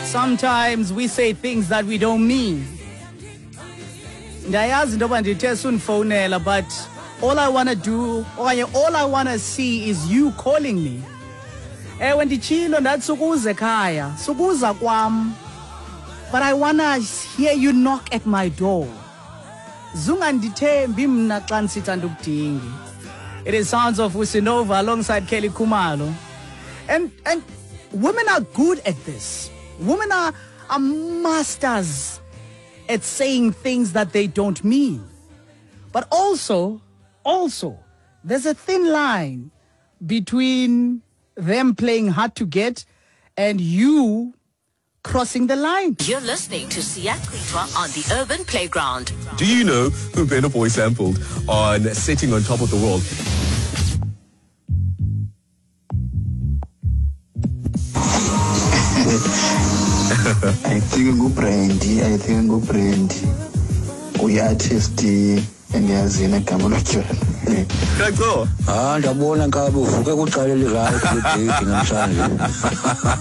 Sometimes we say things that we don't mean. Ndayazi into yoba ndithe sundifowunela, but all I want to do okanye all I want to see is you calling me. Ewe, nditshilo ndathi sukuza ekhaya, sukuza kwam, but I wanna hear you knock at my door. Zungandithembi mna xa ndisithi andikudingi. It is sounds of Usinova alongside Kelly Khumalo. And women are good at this. Women are masters at saying things that they don't mean. But also, there's a thin line between them playing hard to get and you crossing the line. You're listening to Siyachithwa on the Urban Playground. Do you know who Burna Boy sampled on Sitting on Top of the World? I think nguBrandy, I think nguBrandy. Uyi-artist endiyaziyo negama lotywala. Kaco. Ah, ndabona nkabi uvuke kuqala elirayithi ledate namhlanje.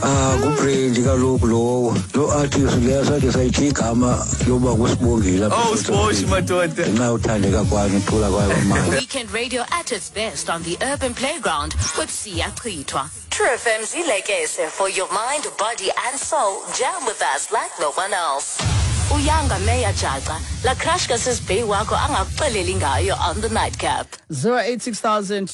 Ah, nguBrandy kaloku lowo. Lo artist leyo sathi sayithi igama loba nguSibongile apha Oh, eSouth Sbosh Africa. madoda. Ngenxa yothandeka kwayo nokucula kwayo kwamali. Weekend radio at its best on the Urban Playground with Siyachithwa. True FM's Ilekese for your mind, body and soul. Jam with us like no one else. Uyanga Meya Jaca, la crush kasisibheki wakho angakuxeleli ngayo on the Nightcap. 086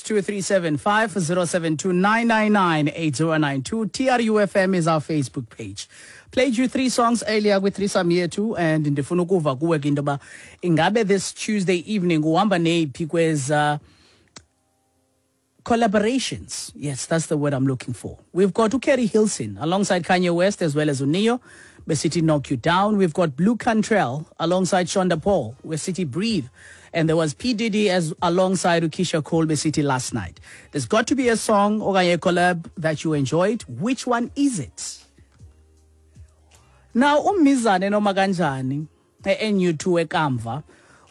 2375 072 999 8092. TRUFM is our Facebook page. Played you three songs earlier with threesome yethu, and ndifuna ukuva kuwe ke into yoba ingabe this Tuesday evening uhamba neyiphi kweza collaborations. Yes, that's the word I'm looking for. We've got uKeri Hilson alongside Kanye West as well as uNeo, besithi Knock You Down. We've got Blu Cantrell alongside Shonda Paul, besithi Breathe. And there was P. Diddy as alongside uKeisha Cole, besithi Last Night. There's got to be a song or a collab that you enjoyed. Which one is it? Now, uMizane noma kanjani e-NU2 ekamva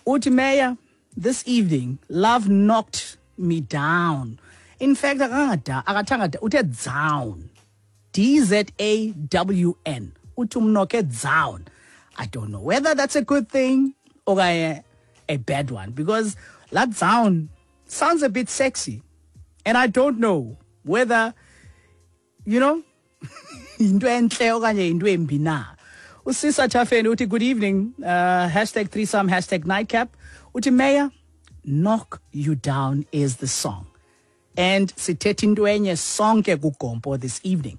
uthi, "Mayor, this evening love knocked me down." In fact, akangada akathanga da, uthe down, D Z A W N. Uthi umnocke down. I don't know whether that's a good thing or a bad one, because that down sounds a bit sexy, and I don't know whether into enhle okanye into embi na. Usisa Chafeni uthi, "Good evening, #threesome #nightcap." Uthi, "Mayor, Knock You Down is the song." And sithetha into enye sonke kuGompo this evening.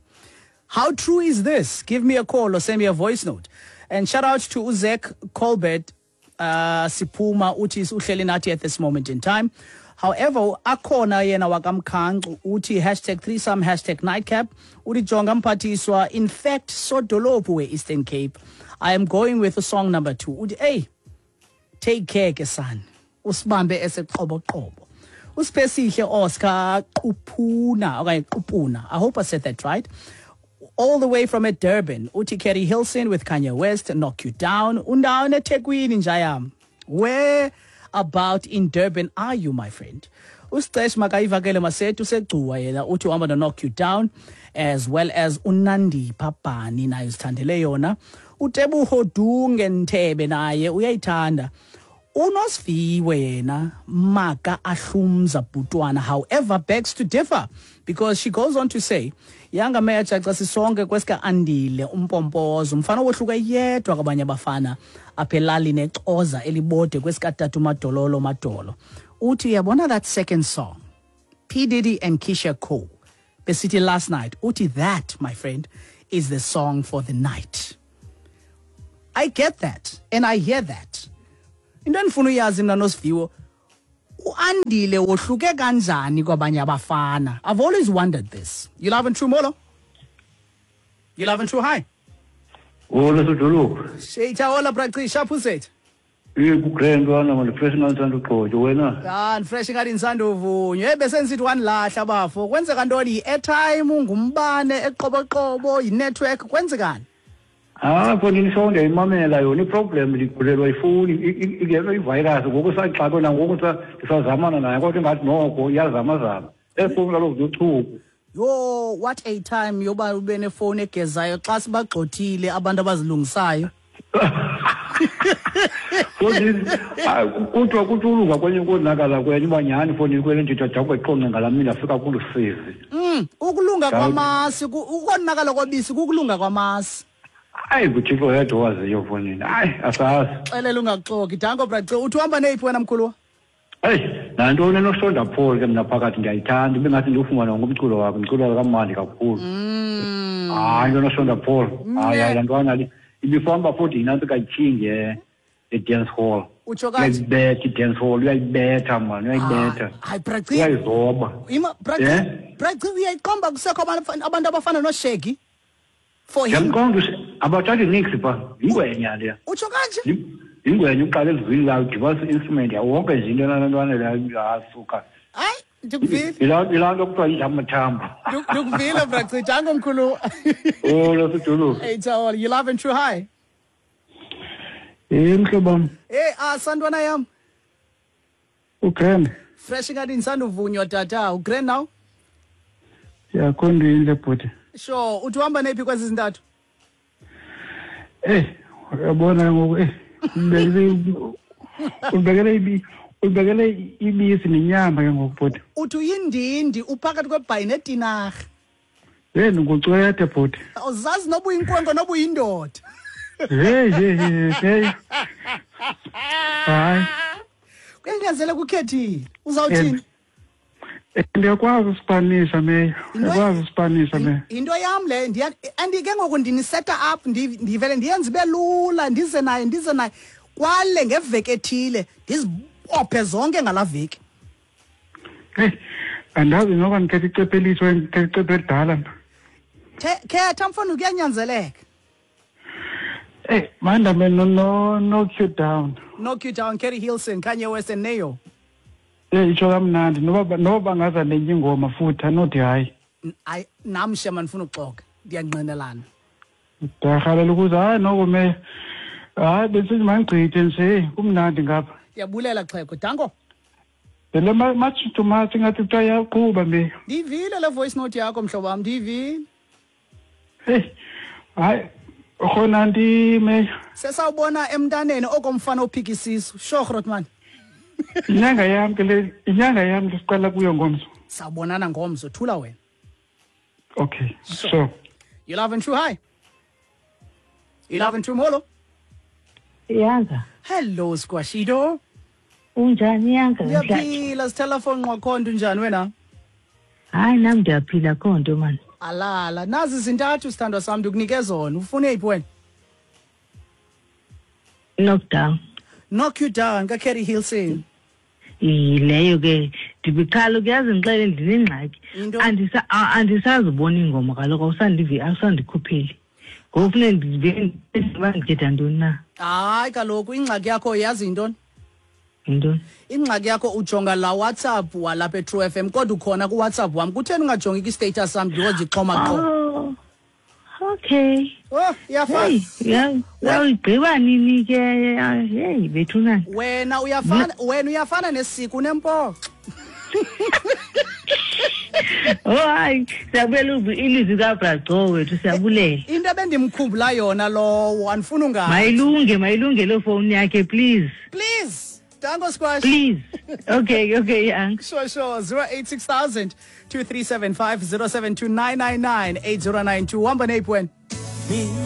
How true is this? Give me a call or send me a voice note. And shout out to Uzek Colbert Siphuma, uthi uhleli nathi at this moment in time. However, akhona yena wakamkhancu uthi #threesome #nightcap. Uthi, "Jonga mphathiswa, in fact sodolophu we-Eastern Cape, I am going with song number 2." Uthi, "Hey, take care ke son, usibambe eseqoboqobo." Usiphesihle Oscar Quphuna okanye Qupuna, I hope I said that right, all the way from Durban, uthi Keri Hilson with Kanye West, Knock You Down. Undawo eThekwini njayam. Where about in Durban are you, my friend? Usicesh makayivakele masethu usegcuwa yena uthi uhamba no Knock You Down, as well as uNandipha Bhani naye uzithandele yona. UTebuho Dunge Nthebe naye uyayithanda. Unosiviwe yena maka ahlumza bhutwana, however, begs to differ, because she goes on to say, "Yanga Meya Jaca, sisonke kwesika Andile umpompozo, umfana wohluke yedwa kwabanye abafana apha elalini exoza elibode kwesikatatu madololo madolo." Uthi uyabona that second song, P Diddy and Keisha Cole, besithi Last Night, uthi that, my friend, is the song for the night. I get that and I hear that. Into endifuna uyazi mna nosiviwo, uAndile wohluke kanjani kwabanye abafana? I've always wondered this. You love and true, molo. You love and true, hi. Hola sodolophu. Sheita hola braci shaphuset. Eh, kugrand wana manje, fresh ngathi ugqoke wena. Ah, fresh ngathi insanduvunywe. Eh, bese nisithi wanilahla bafo. Kwenzeka ntoni? I-airtime, ngumbane eqoboqobo, i-network, kwenzekani? Ah, khona isonde imamela yona iproblem, ndikhulelwa ifoni ingena ivirus ngoku, saxakwe nangoku, ndisazamana nayo, kodwa ingathi noko iyazamazama. Efowuni kaloku zochuku. Yo, what a time yoba ube nefowuni egezayo xa sibagxothile abantu abazilungisayo. Kuthiwa kuthi ulunga kwenye ukonakala kwenye uba nyhani ifowuni kwele nditha jawuqonce ngalaa mini ndafika kulusizi. Ukulunga kwamasi, ukonakala kwabisi kukulunga kwamasi. Hayi, nguThixo yedwa owaziyo fowunini. Hayi, asazi. Xelela ungaxoki. Danko brace, uthi uhamba neyiphi wena mkhuluwa? Eyi, nantoni enoShonda Paul ke mna phakathi ndiyayithanda, ibe ngathi ndiwufumana wonke umculo wakhe, umculo wakhe kamandi kakhulu. Hayi, into enoShonda Paul. Hayi, hayi, laa ntwana le ibifamba futhi yinantsi kayithingi e-dance hall. Utsho kanje? Uyayibetha i-dance hall, uyayibetha mani, uyayibetha. Hayi, brace. Uyayizoba. Ima, brace, brace, uyayiqomba kusekho abantu abafana noShaggy? For him. Ndiyamqonda abathathi nix pha, yingwenya leya. Utsho kanje? Yingwenya uqala ezwini layo, udibanisa i-instrument yawo wonke nje into nalaa ntwana leyo asuka. Hayi, ndikuvile. Yilaa nto kuthiwa yidla amathambo. Ndikuvile, brace, danko mkhulu. Oh, losudulu. Hey, Tawol, you love and true high. Hey, mhlobo wam. Hey, santwana yam. Ugrand. Fresh ingathi ndisanduvunywa tata, ugrand now? Ya, khonto intle bhuti. Sure, uthi uhamba neyiphi kwezi zintathu? Eh, uyabona ngoku ulibekele ibisi nenyama ke ngoku bhuti. Uthi uyindindi uphakathi kwebhayi netinarha. Hey, ndingucwethe bhuti. Awuzazi noba uyinkwenkwe noba uyindoda. Hey, hey, hey, hey. Hayi. Kuyanyanzeleka ukhethile. Uzawuthini? Ndiyakwazi usipanisha meya. Ndiyakwazi usipanisha meya. Into yam le, and ke ngoku ndiniseta up, ndivele ndiyenze ibe lula, ndize naye. Kwale ngeveki ethile, ndizibophe zonke ngalaa veki. Hey, andazi noba ndikhetha icephe elitsha okanye ndikhetha icephe elidala mna. Khetha mfana, kuyanyanzeleka. Hey, mandame no knock you down. Knock you down, Kerry Hilson, Kanye West and Neo. Itsho kamnandi noba bangaza nenye ingoma futhi anothi hayi. Hayi, nam shema ndifuna uxoka, ndiyangqinelana. Ndiyarhalela ukuze hayi noko meya. Hayi besithi mandigqithe nje, kumnandi ngapha. Ndiyabulela xhego, danko. Le much to much ingathi kuthiwa iyaqhuba meya. Ndiyivile le voice note yakho mhlobo wam, ndiyivile. Hey, hayi khona ndi meya. Sesawubona emntaneni okomfana ophika isisu. Sure Grootman. Inyanga yam ke le, inyanga yam lesiqala kuyo ngomso. Sawubonana ngomso, thula wena. Okay, sure. You love and true hi. You love and true molo. Yanga. Hello Squashido. Unjani Yanga? Ndiyaphila, sithela phone ngwakhonto unjani wena? Hayi nami ndiyaphila khonto man. Alala, nazi zintathu sithandwa sami ndikunike zona. Ufune iphi wena? Knockdown. Knock you down ka Kerry Hilson. Leyo ke ndibikhala kuyazi ngixele ndinengxaki. Andisazibona ingoma kaloku awusandivi awusandikhupheli. Ngoku funeka ndive ndikhetha ntoni na? Hayi kaloku ingxaki yakho yazi intoni? Intoni? Ingxaki yakho ujonga la WhatsApp walapha eTrue FM kodwa ukhona ku WhatsApp wam. Kutheni ungajongi ki-status sam because ndixhoma qho? Oh, okay. Oh, iyafana. Hey, uyigqiba nini ke? Hey, bethuna. Wena uyafana nesiko unempoxo. Oh hayi, siyabulela ilizwi kaBraco wethu, siyabulela. Into ebendimkhumbula yona lowo, andifuni ungazi. Mayilunge loo phone yakhe please. Please. Danko Squash. Please. Okay, yeah. Sure. 086,000 2375 072 999 8092. Hamba neyiphi wena?